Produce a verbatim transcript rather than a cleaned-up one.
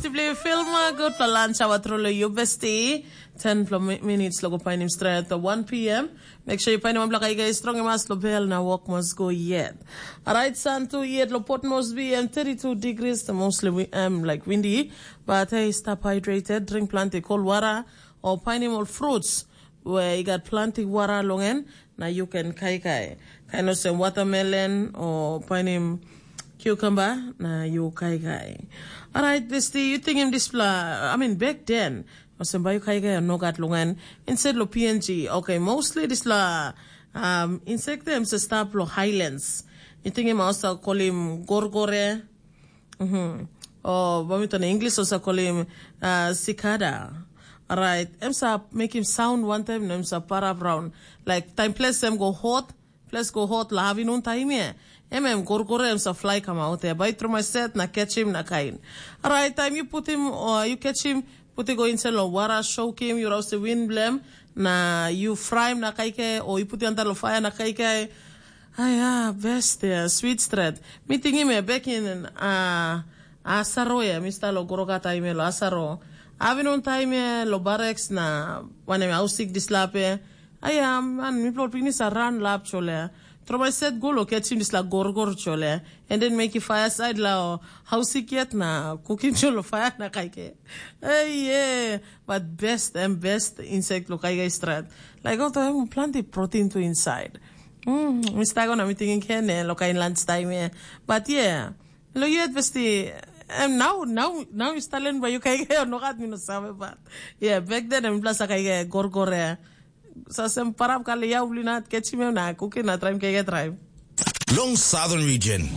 Sipli filma gutpela lunch hour tru long yu besti. Ten pla minutes lo go painim stret o one p m. Make sure you painim wanpela kaikai strong mas lo bel na wok mas go yet. Alright, sun tu yet lo Port Moresby em thirty-two degrees, mostly wi- em like windy. But hey, stop hydrated, drink plenty cold water or painim all fruits where you got plenty water long en, na you can kaikai. Kain olsem watermelon o painim cucumber na yu kaikai. Alright, besti, yu tingim dispela, I mean, back then, olsem bai yu kaikai o nogat long en, inside lo P N G. Okay, mostly dispela um, insect em se stap lo highlands. Yu tingim olsa kolim gorgore, mm-hmm. O bamiton English olsa kolim uh, cicada. Alright, em sa mekim sound one time, na em sa parap raun. Like, time place em go hot, place go hot la afternoon time ye. Em em gorgore em sa fly kamaut ya. Bai tru mai set na catch him na kain. Alright, time you put him or you catch him, put it go inside lo water, soak him, you roast the wind blem, na you fry him na kaike, or you put it under lo fire na kaike. Aya, best ya, sweet stret. Mi tingim ya back in uh, Asaro ya, mi sta lo goroka time lo Asaro. Afternoon time lo barracks na wanem ausik dislape. Aya, man, mi plot pinis a ran lap chole. Tromai set go lo catchim disla gorgor chole. And then make fire side la hausik yet na cooking cholo fire na kaike. Hey, yeah. But best and best insect lo kai strat. Like all time plenty protein to inside. Mm, mi sta go na mi thinking kene lo kai lunch time yeah. But yeah. Lo yet besti em now now now you stalen ba you kai no gat mi no save but yeah back then em plus kai gorgore. Sa sem parap kali ya uli na catch me na cooking na try kai try. Long Southern Region.